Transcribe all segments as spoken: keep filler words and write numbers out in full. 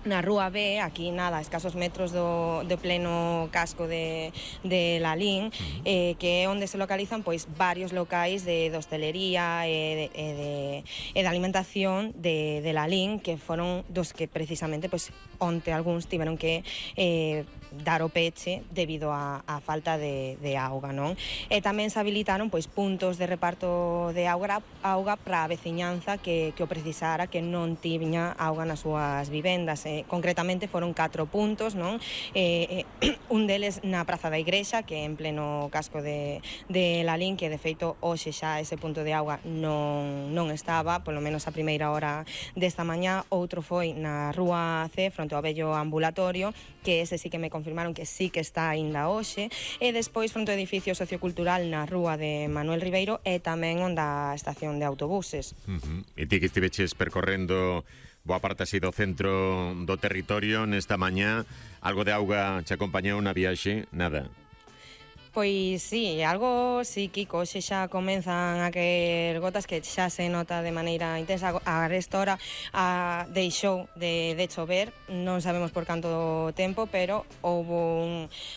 na Rúa B, aquí nada, escasos metros do, do pleno casco de, de Lalín, uh-huh. eh, que é onde se localizan pois varios locais de, de hostelería e de, e de, e de alimentación de, de Lalín, que foron dos que precisamente pois onte algúns tiveron que eh, dar o peche debido a, a falta de, de auga, non? E tamén se habilitaron pois puntos de reparto de auga, auga para a veciñanza que, que o precisara, que non tiña auga nas súas vivendas. Eh, concretamente foron catro puntos, non? Eh, eh, un deles na Praza da Igrexa, que en pleno casco de, de Lalín, que de feito hoxe xa ese punto de auga non, non estaba, polo menos a primeira hora desta mañá. Outro foi na Rúa C, fronte ao vello ambulatorio, que ese sí que me confirmaron que sí que está aínda hoxe, e despois fronte ao edificio sociocultural na Rúa de Manuel Ribeiro e tamén onde a estación de autobuses. Uh-huh. E ti que estiveches percorrendo boa parte así do centro do territorio nesta mañá, algo de auga che acompañou na viaxe? Nada? Pois sí, algo psíquico, xe xa comenzan a caer gotas que xa se nota de maneira intensa. A esta hora a, deixou de, de chover, non sabemos por canto tempo, pero houve un,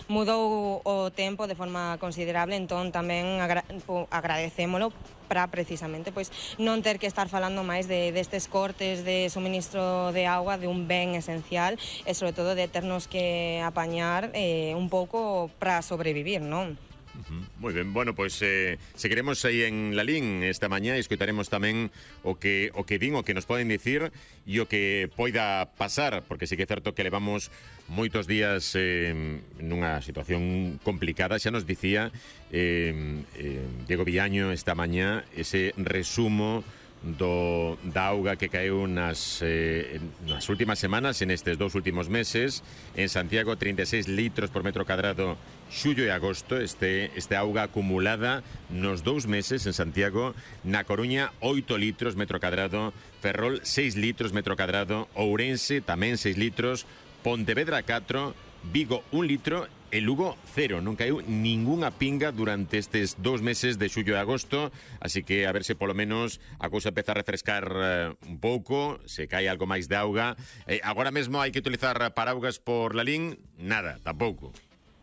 mudou o tempo de forma considerable, entón tamén agra, agradecémolo para precisamente pois non ter que estar falando máis de destes cortes de suministro de auga, de un ben esencial, e sobre todo de ternos que apañar eh, un pouco para sobrevivir, non? Uh-huh. Moi ben, bueno, pois eh, seguiremos aí en Lalín esta mañá e escoitaremos tamén o que o que din, o que nos poden dicir e o que poida pasar, porque sí que é certo que levamos moitos días eh, nunha situación complicada. Xa nos dicía eh, eh, Diego Villaño esta mañá ese resumo do da auga que caeu nas, eh, nas últimas semanas, en estes dous últimos meses. En Santiago, trinta e seis litros por metro cadrado xullo e agosto, este, este auga acumulada nos dous meses en Santiago. Na Coruña, oito litros metro cadrado, Ferrol, seis litros metro cadrado, Ourense, tamén seis litros, Pontevedra, catro, Vigo, un litro, e Lugo, cero. Non caiu ningunha pinga durante estes dous meses de xullo e agosto, así que a ver se polo menos a cousa empeza a refrescar uh, un pouco, se cae algo máis de auga. Eh, agora mesmo hai que utilizar paraugas por Lalín? Nada, tampouco.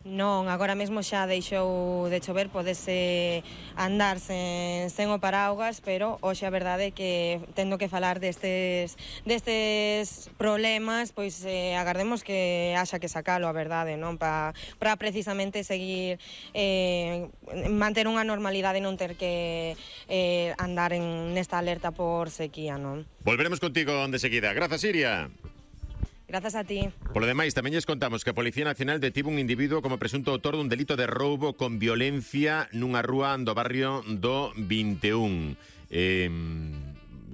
Non, agora mesmo xa deixou de chover, podese andar sen, sen o paraugas, pero hoxe a verdade é que tendo que falar destes, destes problemas, pois eh, agardemos que haxa que sacalo, a verdade, non? Para pa precisamente seguir eh, manter unha normalidade e non ter que eh, andar en nesta alerta por sequía, non? Volveremos contigo de seguida. Grazas, Iria. Grazas a ti. Por lo demais, tamén lles contamos que a Policía Nacional detivo un individuo como presunto autor dun delito de roubo con violencia nunha rúa do barrio do vinte e un. Eh,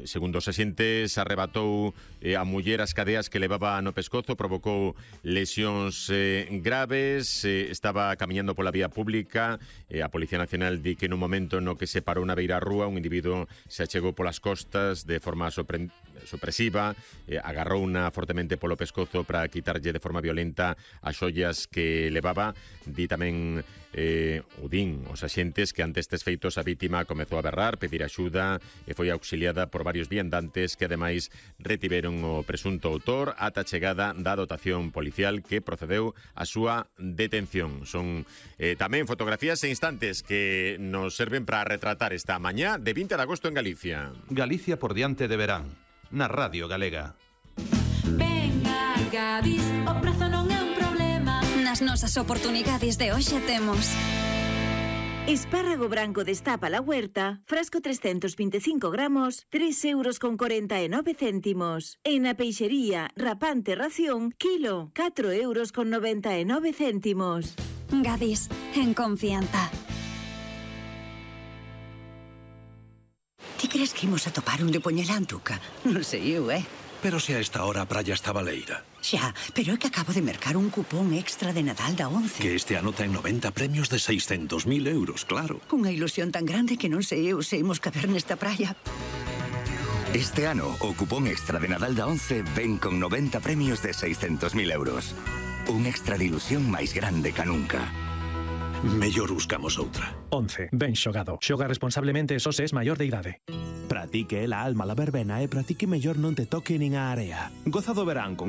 segundo os axentes, arrebatou eh, a muller as cadeas que levaba no pescozo, provocou lesións eh, graves, eh, estaba camiñando pola vía pública. Eh, a Policía Nacional di que nun momento no que se parou na beira rúa, un individuo se achegou polas costas de forma sorprendente supresiva, eh, agarrouna fortemente polo pescozo para quitarlle de forma violenta as xoias que levaba. Di tamén eh, o din os axentes que ante estes feitos a vítima comezou a berrar, pedir axuda e foi auxiliada por varios viandantes que ademais retiveron o presunto autor ata a chegada da dotación policial que procedeu a súa detención. Son eh, tamén fotografías e instantes que nos serven para retratar esta mañá de vinte de agosto en Galicia. Galicia por diante de verán, na Radio Galega. Venga, Gadis, o prazo non é un problema. Nas nosas oportunidades de hoxe temos espárrago branco destapa la huerta, frasco trescientos veinticinco gramos, tres euros con cuarenta y nueve céntimos. En la peixería, rapante ración, kilo, cuatro euros con noventa y nueve céntimos. Gadis, en confianza. Ti crees que imos a topar un de Poñelantuca? Non sei eu, eh? Pero se a esta hora a praia está baleira. Xa, pero é que acabo de mercar un cupón extra de Nadal da once. Que este ano ten noventa premios de seiscentos mil euros, claro. Unha ilusión tan grande que non sei eu se imos caber nesta praia. Este ano, o cupón extra de Nadal da once ven con noventa premios de seiscentos mil euros. Un extra de ilusión máis grande ca nunca. Mellor buscamos outra. once. Ben xogado. Xoga responsablemente e só se es maior de idade. Pra ti que é la alma la verbena e pra ti que mellor non te toque nin a area. Goza do verán con